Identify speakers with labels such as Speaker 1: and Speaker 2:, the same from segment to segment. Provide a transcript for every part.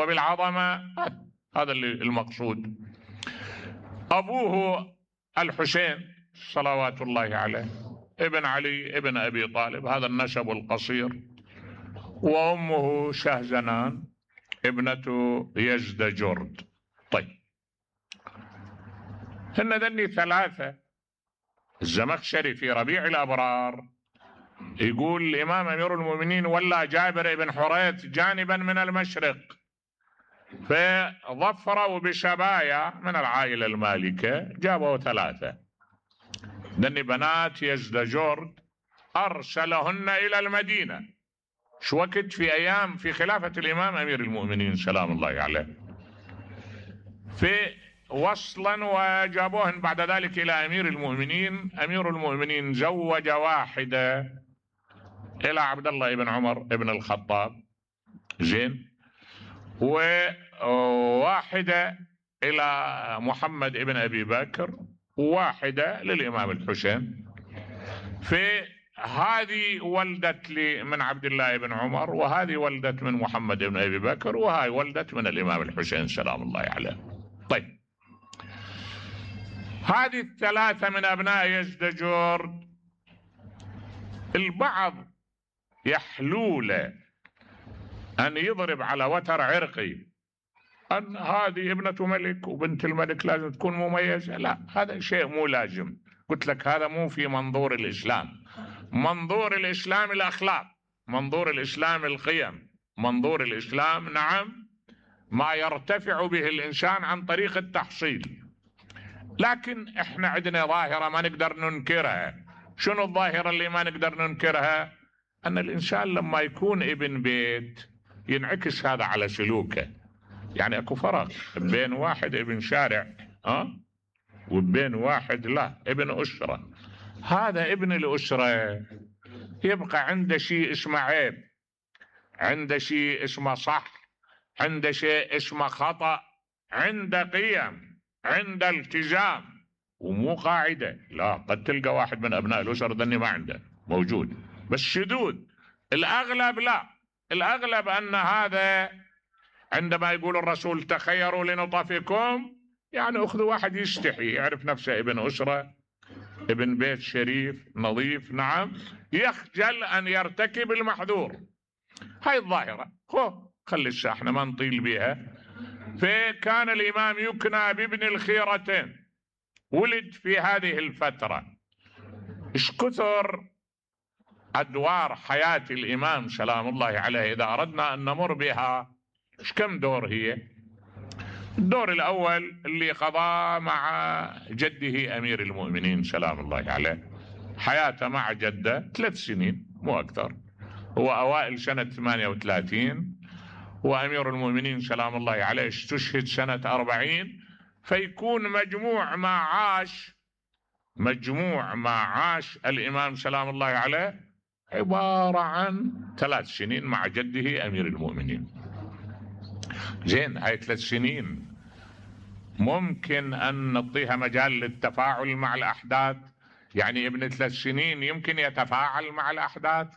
Speaker 1: وبالعظمة، هذا اللي المقصود. أبوه الحسين صلوات الله عليه ابن علي ابن أبي طالب، هذا النسب القصير. وأمه شهزنان ابنة يزدجرد. طيب، هن ذني ثلاثة. الزمخشري في ربيع الأبرار يقول الإمام أمير المؤمنين ولى جابر بن حريث جانبا من المشرق، فظفروا بشبايا من العائلة المالكة، جابوا ثلاثة. ذني بنات يزدجرد أرسلهن إلى المدينة. شو وقت؟ في أيام في خلافة الإمام أمير المؤمنين سلام الله عليه، في وصلا وجابوهن بعد ذلك إلى أمير المؤمنين. أمير المؤمنين زوج واحدة إلى عبد الله بن عمر بن الخطاب، زين، وواحدة إلى محمد بن أبي بكر، وواحدة للإمام الحسين. في هذه ولدت لي من عبد الله بن عمر، وهذه ولدت من محمد بن أبي بكر، وهاي ولدت من الإمام الحسين سلام الله عليه. طيب، هذه الثلاثة من أبناء يزدجرد. البعض يحلول أن يضرب على وتر عرقي أن هذه ابنة ملك وبنت الملك لازم تكون مميزة. لا، هذا شيء مو لازم. قلت لك هذا مو في منظور الإسلام. منظور الإسلام الأخلاق، منظور الإسلام القيم، منظور الإسلام نعم ما يرتفع به الإنسان عن طريق التحصيل. لكن احنا عندنا ظاهرة ما نقدر ننكرها. شنو الظاهرة اللي ما نقدر ننكرها؟ أن الإنسان لما يكون ابن بيت ينعكس هذا على سلوكه. يعني اكو فرق بين واحد ابن شارع وبين واحد لا ابن أسرة. هذا ابن الأسرة يبقى عنده شيء اسمه عيب، عنده شيء اسمه صح، عنده شيء اسمه خطأ، عنده قيم، عنده التزام، ومو قاعدة. لا، قد تلقى واحد من أبناء الأسر ذني ما عنده، موجود بس شذوذ. الأغلب لا، الأغلب أن هذا عندما يقول الرسول تخيروا لنطفكم، يعني أخذوا واحد يستحي، يعرف نفسه ابن أسرة، ابن بيت شريف نظيف، نعم، يخجل أن يرتكب المحذور. هاي الظاهرة. خلي الساحنة ما نطيل بها. فكان الإمام يكنى بابن الخيرتين، ولد في هذه الفترة. إيش كثر أدوار حياة الإمام سلام الله عليه إذا أردنا أن نمر بها. إيش كم دور هي؟ الدور الأول اللي قضاه مع جده أمير المؤمنين سلام الله عليه، حياته مع جده 3 سنين مو أكثر. هو أوائل سنة 38، وأمير المؤمنين سلام الله عليه استشهد سنة 40. فيكون مجموع ما عاش الإمام سلام الله عليه عبارة عن 3 سنين مع جده أمير المؤمنين. زين، هاي 3 سنين ممكن أن نعطيها مجال للتفاعل مع الأحداث. يعني ابن 3 سنين يمكن يتفاعل مع الأحداث،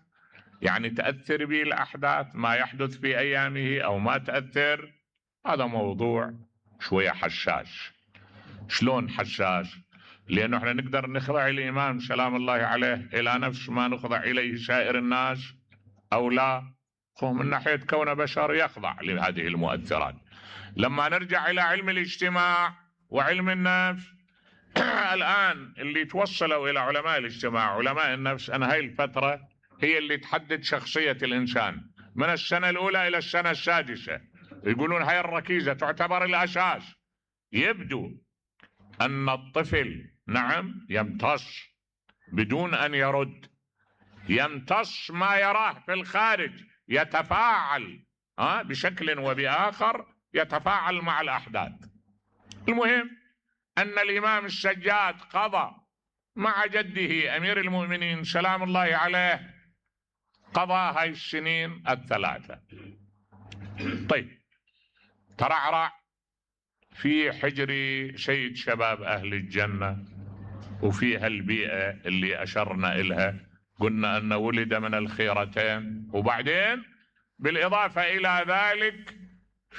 Speaker 1: يعني تأثر به الأحداث ما يحدث في أيامه أو ما تأثر. هذا موضوع شوية حساس. شلون حساس؟ لأنه احنا نقدر نخضع الإمام سلام الله عليه إلى نفس ما نخضع إليه سائر الناس أو لا؟ من ناحية كون بشر يخضع لهذه المؤثرات. لما نرجع إلى علم الاجتماع وعلم النفس الآن اللي توصلوا إلى علماء الاجتماع علماء النفس أن هاي الفترة هي اللي تحدد شخصية الإنسان من السنة الأولى إلى السنة السادسة. يقولون هاي الركيزة تعتبر الأساس. يبدو أن الطفل نعم يمتص بدون أن يرد، يمتص ما يراه في الخارج، يتفاعل بشكل وبآخر، يتفاعل مع الأحداث. المهم أن الإمام السجاد قضى مع جده أمير المؤمنين سلام الله عليه، قضى هاي السنين 3. طيب، ترعرع في حجر سيد شباب أهل الجنة، وفي هالبيئة اللي أشرنا إلها، قلنا أنه ولد من الخيرتين، وبعدين بالإضافة إلى ذلك